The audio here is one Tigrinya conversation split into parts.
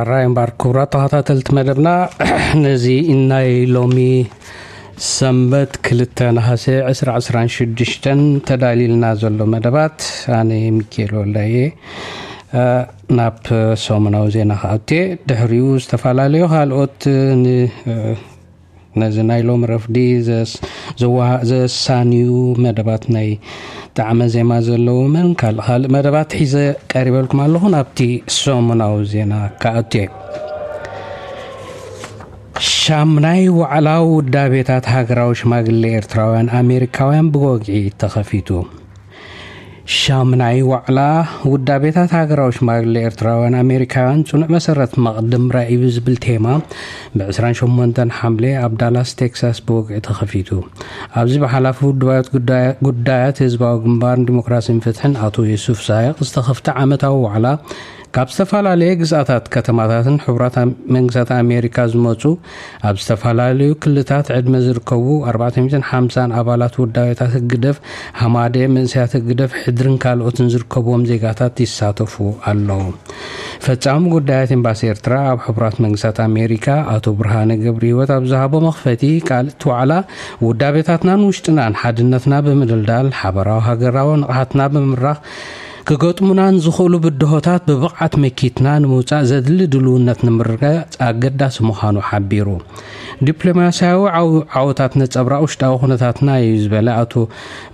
ራይ እምበር ክቡራት ተኸታተልቲ መደብና፣ ነዚ ናይ ሎሚ ሰንበት ክልተ ነሃሰ ዕስራ ዕስራን ሽዱሽተን ተዳልዩልና ዘሎ መደባት፣ ኣነ ሚካኤል ወልዳየ፣ እ፣ ናብ ሰሙናዊ ዜና ክኣቱ እየ። ድሕሪኡ ዝተፈላለዩ ካልኦት ን-፣ እ፣ ነዚ ናይ ሎም ረፍዲ ዘስ-፣ ዘዋ-፣ ዘሳንዩ መደባት ናይ ጣዕመ ዜማ ዘለዎምን ካልእ ካልእ መደባት ሒዘ ቀሪበልኩም ኣለኹ። ናብቲ ሰሙናዊ ዜና ክኣቱ እየ። ሻምናይ ዋዕላ ውዳቤታት ሃገራዊ ሽማግሌ ኤርትራውያን ኣሜሪካውያን ብወግዒ ተኸፊቱ። ሻምናይ ዋዕላ ውዳቤታት ሃገራዊ ሽማግሌ ኤርትራውያን ኣሜሪካውያን ጽኑዕ መሰረት መቕድም ራኢ ብዝብል ቴማ ብ ዕስራን ሸሞንተን ሓምሌ ኣብ ዳላስ ቴክሳስ ብወግዒ ተኸፊቱ። ኣብዚ ብሓላፊ ውድባዊ ጉዳያ-፣ ጉዳያት ህዝባዊ ግንባርን ዲሞክራሲን ፍትሕን ኣቶ የሱፍ ሳይቕ ዝተኸፍተ ዓመታዊ ዋዕላ ካብ ዝተፈላለየ ግዝኣታት፣ ከተማታትን ሕቡራት ኣም-፣ መንግስታት ኣሜሪካ ዝመጹ ኣብ ዝተፈላለዩ ክልታት ዕድመ ዝርከቡ ኣርባዕተ ሚእትን ሓምሳን ኣባላት ውዳቤታት ህግደፍ፣ ሃማደ፣ መንእሰያት ህግደፍ፣ ሕድርን ካልኦትን ዝርከብዎም ዜጋታት ይሳተፉ ኣለዉ። ፈጻሚ ጉዳያት ኤምባሲ ኤርትራ ኣብ ሕቡራት መንግስታት ኣሜሪካ ኣቶ ብርሃነ ገብረህይወት ኣብ ዝሃቦ መኽፈቲ ቃል፣ እቲ ዋዕላ ውዳቤታትናን ውሽጥናን ሓድነትና ብምድልዳል፣ ሓበራዊ ሃገራዊ ንቕሓትና ብምምራኽ፣ ክገጥሙና ንዝኽእሉ ብድሆታት ብብቕዓት መኪትና ንምውጻእ ዘድሊ ድልውነት ንምርግጋጽ ኣገዳሲ ምዃኑ ሓቢሩ። ዲፕሎማስያዊ ዓው-፣ ዓወታት ነጸብራቕ ውሽጣዊ ኩነታትና እዩ ዝበለ ኣቶ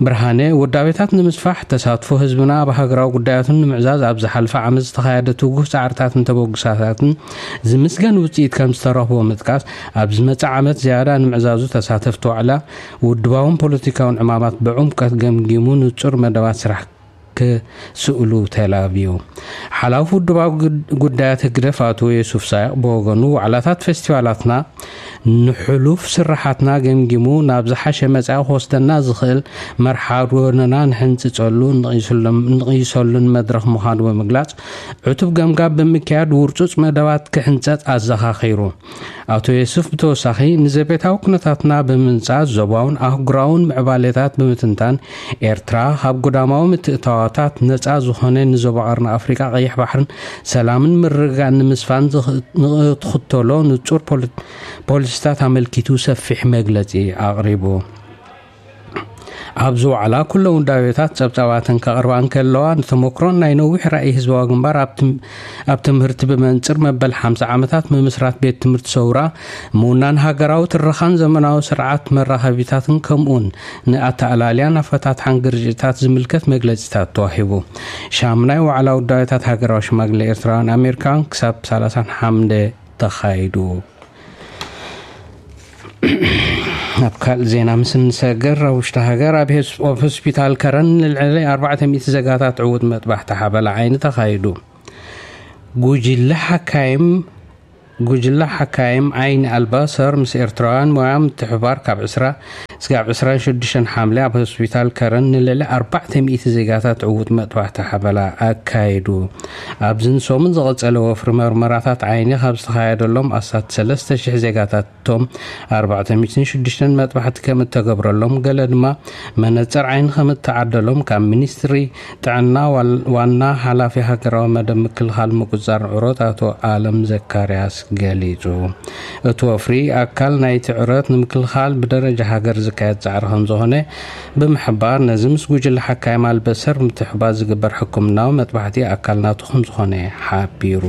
ብርሃነ፣ ውዳቤታት ንምስፋሕ፣ ተሳትፎ ህዝብና ኣብ ሃገራዊ ጉዳያቱን ንምዕዛዝ ኣብ ዝሓለፈ ዓመት ዝተኻየደ ትጉህ ጻዕርታትን ተበግሶታትን ዝምስገን ውጽኢት ከም ዝተረኽቦ ምጥቃስ፣ ኣብ ዝመጽእ ዓመት ዝያዳ ንምዕዛዙ ተሳተፍቲ ዋዕላ ውድባውን ፖለቲካውን ዕማማት ብዕምቀት ገምጊሙ ንጹር መደባት ስራሕ ክስእሉ ተላብዩ። ሓላፊ ውድባዊ ጉድ-፣ ጉዳያት ህግደፍ ኣቶ የሱፍ ሳይቕ ብወገኑ፣ ዋዕላታት ፌስቲቫላትና ንሕሉፍ ስራሓትና ገምጊሙ ናብ ዝሓሸ መጻኢ ክወስደና ዝኽእል መርሓ ጎደና ንሕንጽጸሉ፣ ንቕይስሎም-፣ ንቕይሰሉን መድረኽ ምዃኑ ብምግላጽ፣ ዕቱብ ገምጋም ብምክያድ ውርጹጽ መደባት ክሕንጸጽ ኣዘኻኺሩ። ኣቶ የሱፍ ብተወሳኺ፣ ንዘቤታዊ ኩነታትና ብምንጻር፣ ዞባውን ኣህጉራውን ምዕባሌታት ብምትንታን፣ ኤርትራ ካብ ጉዳማዊ ምትእትታዋታት ነጻ ዝኾነ፣ ንዞባ ቀርኒ ኣፍሪቃ ቀይሕ ባሕርን ሰላምን ምርግጋእን ንምስፋን ዝኽ-፣ ንኽትኽተሎ ንጹር ፖሊ-፣ ፖሊሲታት ኣመልኪቱ ሰፊሕ መግለጺ ኣቕሪቡ። ኣብዚ ዋዕላ ኩለን ውዳቤታት ጸብጻባተን ከቕርባ እንከለዋ፣ ንተመክሮን ናይ ነዊሕ ራእይ ህዝባዊ ግንባር ኣብ ትም-፣ ኣብ ትምህርቲ ብመንጽር መበል ሓምሳ ዓመታት ምምስራት ቤት ትምህርቲ ሰውራ፣ ምውናን ሃገራዊ ትረኻን ዘመናዊ ስርዓት መራኸቢታትን ከምኡውን ንኣተኣላልያን ኣፈታትሓን ግርጭታት ዝምልከት መግለጺታት ተዋሂቡ። ሻምናይ ዋዕላ ውዳቤታት ሃገራዊ ሽማግሌ ኤርትራውያን ኣሜሪካውያን ክሳብ ሰላሳን ሓምደ ተኻይዱ። ኣብ ካልእ ዜና ምስ እንሰገር፣ ኣብ ውሽጢ ሃገር ኣብ ሄስ-፣ ኣብ ሆስፒታል ከረን ንልዕሊ ኣርባዕተ ሚእቲ ዜጋታት ዕዉት መጥባሕቲ ሓበላ ዓይኒ ተኻይዱ። ጉጅለ ሓካይም፣ ጉጅለ ሓካይም ዓይኒ ኣልባሰር ምስ ኤርትራውያን ሞያ ምትሕብባር ካብ ዕስራ እስካብ ዕስራን ሽዱሽተን ሓምለ ኣብ ሆስፒታል ከረን ንልዕሊ ኣርባዕተ ሚእቲ ዜጋታት ዕዉት መጥባሕቲ ሓበላ ኣካይዱ። ኣብዚ ንሰሙን ዝቐጸለ ወፍሪ መርመራታት ዓይኒ ካብ ዝተኻየደሎም ኣስታት ሰለስተ ሽሕ ዜጋታት፣ እቶም ኣርባዕተ ሚእትን ሽዱሽተን መጥባሕቲ ከም እተገብረሎም፣ ገለ ድማ መነጽር ዓይኒ ከም እተዓደሎም ካብ ሚኒስትሪ ጥዕና ዋል-፣ ዋና ሓላፊ ሃገራዊ መደብ ምክልኻል ምቁጽጻር ዕሮት ኣቶ ኣለም ዘካርያስ ገሊጹ። እቲ ወፍሪ ኣካል ናይቲ ዕረት ንምክልኻል ብደረጃ ሃገር ዝካየድ ጻዕሪ ከም ዝኾነ ብምሕባር፣ ነዚ ምስ ጉጅለ ሓካይም ኣልበሰር ምትሕባር ዝግበር ሕክምናዊ መጥባሕቲ ኣካል ናቱ ከም ዝኾነ ሓቢሩ።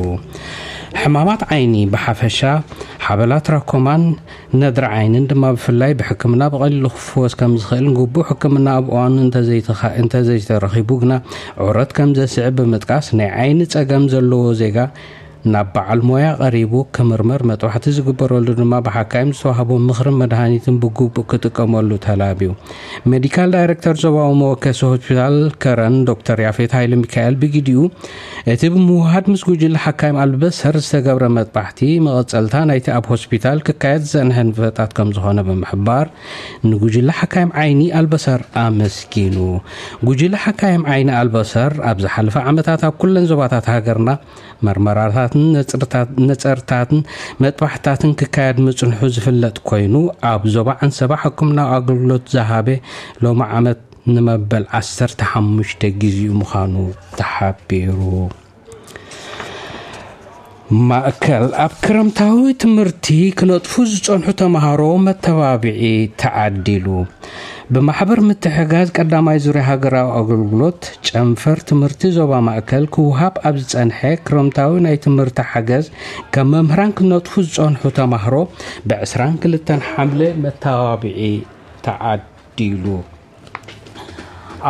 ሕማማት ዓይኒ ብሓፈሻ፣ ሓበላ ትራኮማን ነድሪ ዓይንን ድማ ብፍላይ ብሕክምና ብቐሊሉ ክፍወስ ከም ዝኽእልን ግቡእ ሕክምና ኣብ እዋኑ እንተዘይተኻ-፣ እንተዘይተረኺቡ ግና ዕረት ከም ዘስዕብ ብምጥቃስ፣ ናይ ዓይኒ ጸገም ዘለዎ ዜጋ ናብ በዓል ሞያ ቀሪቡ ክምርመር፣ መጥባሕቲ ዝግበረሉ ድማ ብሓካይም ዝተዋህቦ ምኽርን መድሃኒትን ብግቡእ ክጥቀመሉ ተላብዩ። ሜዲካል ዳይሬክተር ዞባዊ መወከሲ ሆስፒታል ከረን ዶክተር ያፌት ሃይለ ሚካኤል ብግዲኡ፣ እቲ ብምውሃድ ምስ ጉጅለ ሓካይም ኣልበሰር ዝተገብረ መጥባሕቲ መቐጸልታ ናይቲ ኣብ ሆስፒታል ክካየድ ዝጸንሐ ንጥፈታት ከም ዝኾነ ብምሕባር፣ ንጉጅለ ሓካይም ዓይኒ ኣልበሰር ኣመስጊኑ። ጉጅለ ሓካይም ዓይኒ ኣልበሰር ኣብ ዝሓለፈ ዓመታት ኣብ ኩለን ዞባታት ሃገርና መርመራታትን ነጽርታት-፣ ነጸርታትን መጥባሕታትን ክካየድ ምጽንሑ ዝፍለጥ ኮይኑ፣ ኣብ ዞባ ዓንሰባ ሕክምናዊ ኣገልግሎት ዝሃበ ሎሚ ዓመት ንመበል ዓሰርተ ሓሙሽተ ግዜኡ ምዃኑ ተሓቢሩ። ማእከል ኣብ ክረምታዊ ትምህርቲ ክነጥፉ ዝጸንሑ ተማሃሮ መተባብዒ ተዓዲሉ። ብማሕበር ምትሕጋዝ ቀዳማይ ዙርያ ሃገራዊ ኣገልግሎት ጨንፈር ትምህርቲ ዞባ ማእከል ክውሃብ ኣብ ዝጸንሐ ክረምታዊ ናይ ትምህርቲ ሓገዝ፣ ከም መምህራን ክነጥፉ ዝጸንሑ ተማሃሮ ብ22 ሓምለ መተባብዒ ተዓዲሉ።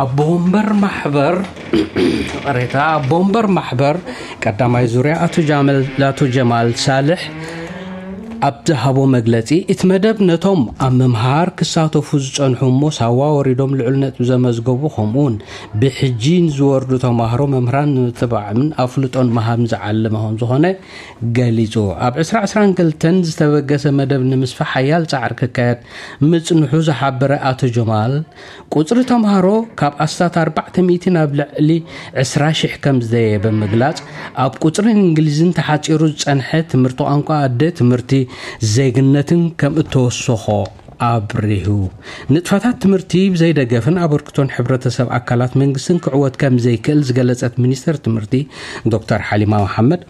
ኣቦ ወንበር ማሕበር፣ ቅሬታ፣ ኣቦ ወንበር ማሕበር ቀዳማይ ዙርያ ኣቶ ጃመል፣ ኣቶ ጀማል ሳልሕ ኣብ ዝሃቦ መግለጺ፣ እቲ መደብ ነቶም ኣብ ምምሃር ክሳተፉ ዝጸንሑ እሞ ሳዋ ወሪዶም ልዑል ነጥቢ ዘመዝገቡ፣ ከምኡውን ብሕጂ ንዝወርዱ ተማሃሮ መምህራን ንምትባዕምን ኣፍልጦን ምሃብ ዝዓለመ ከም ዝኾነ ገሊጹ። ኣብ 2022 ዝተበገሰ መደብ ንምስፋሕ ሓያል ጻዕሪ ክካየድ ምጽንሑ ዝሓበረ ኣቶ ጀማል፣ ቁጽሪ ተምሃሮ ካብ ኣስታት ኣርባዕተ ሚእቲ ናብ ልዕሊ ዕስራ ሽሕ ከም ዝደየ ብምግላጽ፣ ኣብ ቁጽርን እንግሊዝን ተሓጺሩ ዝጸንሐ ትምህርቲ ቋንቋ ኣደ፣ ትምህርቲ ዜግነትን ከም እተወሰኾ ኣብሪሁ። ንጥፈታት ትምህርቲ ብዘይደገፍን ኣበርክቶን ሕብረተሰብ፣ ኣካላት መንግስትን ክዕወት ከም ዘይክእል ዝገለጸት ሚኒስተር ትምህርቲ ዶክተር ሓሊማ መሓመድ፣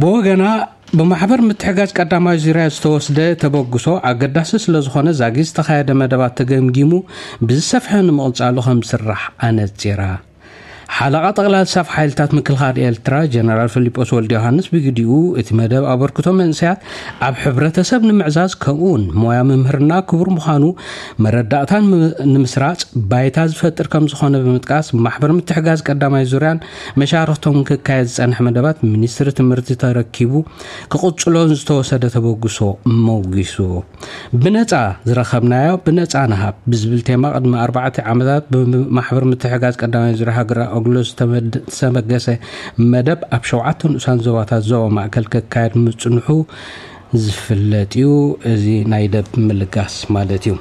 ብወገና፣ ብማሕበር ምትሕጋዝ ቀዳማይ ዙርያ ዝተወስደ ተበግሶ ኣገዳሲ ስለ ዝኾነ፣ ዛጊ ዝተኻየደ መደባት ተገምጊሙ ብዝሰፍሐ ንምቕጻሉ ከም ዝስራሕ ኣነጺራ። ሓለቓ ጠቕላሊ ስታፍ ሓይልታት ምክልኻል ኤርትራ ጀነራል ፊሊጶስ ወልደ ዮሃንስ ብግዲኡ፣ እቲ መደብ ኣበርክቶ መንእሰያት ኣብ ሕብረተሰብ ንምዕዛዝ፣ ከምኡውን ሞያ ምምህርና ክቡር ምዃኑ መረዳእታን ም-፣ ንምስራጽ ባይታ ዝፈጥር ከም ዝኾነ ብምጥቃስ፣ ብማሕበር ምትሕጋዝ ቀዳማይ ዙርያን መሻርኽቶም ክካየድ ዝጸንሐ መደባት ሚኒስትሪ ትምህርቲ ተረኪቡ ክቕጽሎን ዝተወሰደ ተበግሶ መውጊሱ። "ብነጻ ዝረኸብናዮ ብነጻ ንሃብ" ብዝብል ቴማ፣ ቅድሚ ኣርባዕተ ዓመታት ብማሕበር ምትሕጋዝ ቀዳማይ ዙርያ ሃገራዊ ኣገልግሎት ዝተመድ-፣ ዝተበገሰ መደብ፣ ኣብ ሸውዓተ ንኡሳን ዞባታት ዞባ ማእከል ክካየድ ምጽንሑ ዝፍለጥ እዩ። እዚ ናይ ደብ ምልጋስ ማለት እዩ።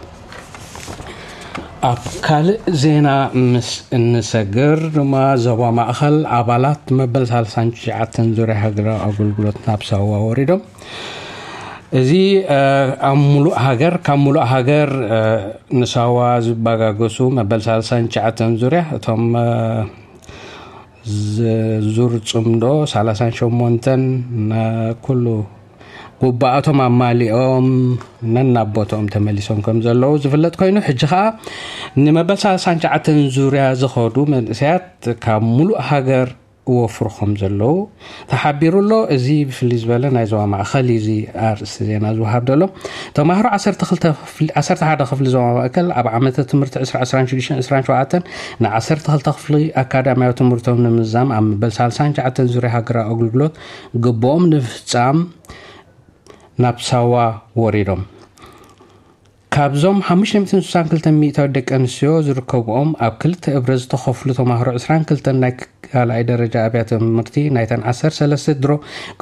ኣብ ካልእ ዜና ምስ እንሰግር ድማ፣ ዞባ ማእከል ኣባላት መበል ሳልሳን ትሽዓተን ዙርያ ሃገራዊ ኣገልግሎት ናብ ሳዋ ወሪዶም። እዚ፣ እ፣ ኣብ ሙሉእ ሃገር፣ ካብ ሙሉእ ሃገር፣ እ፣ ንሳዋ ዝበጋገሱ መበል ሳልሳን ትሽዓተን ዙርያ፣ እቶም፣ እ፣ ዝ-፣ ዙር ጽምዶ ሰላሳን ሸሞንተን፣ ን-፣ ኩሉ ጉባኣቶም ኣማሊኦም ነናብ ቦታኦም ተመሊሶም ከም ዘለዉ ዝፍለጥ ኮይኑ፣ ሕጂ ኸኣ ንመበል ሰላሳን ትሽዓተን ዙርያ ዝኸዱ መንእሰያት ካብ ሙሉእ ሃገር ወፍሩ ከም ዘለዉ ተሓቢሩ ኣሎ። እዚ ብፍልይ ዝበለ ናይ ዞባ ማእከል እዩ እዚ ኣርእስቲ ዜና ዝወሃብ ዘሎ። ተማሃሮ ዓሰርተ ክልተ ክፍሊ፣ ዓሰርተ ሓደ ክፍሊ ዞባ ማእከል ኣብ ዓመተ ትምህርቲ ዕስራ ዕስራን ሽዱሽተን ዕስራን ሸውዓተን ን12 ክፍሊ ኣካዳሚያዊ ትምህርቶም ንምዝዛም ኣብ መበል ሳልሳን ትሽዓተን ዙርያ ሃገራዊ ኣገልግሎት ግብኦም ንምፍጻም ናብ ሳዋ ወሪዶም። ካብዞም ሓሙሽተ ሚእትን ስሳን ክልተ ሚእታዊ ደቂ ኣንስትዮ ዝርከብኦም ኣብ ክልተ እብረ ዝተኸፍሉ ተማሃሮ ዕስራን ክልተን ናይ ካልኣይ ደረጃ ኣብያተ ትምህርቲ ናይተን ዓሰርተ ሰለስተ ድሮ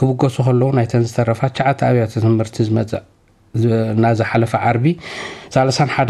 ክብገሱ ከለዉ፣ ናይተን ዝተረፋ ትሽዓተ ኣብያተ ትምህርቲ ዝመጽእ ዝ-፣ ናዝሓለፈ ዓርቢ ሰላሳን ሓደ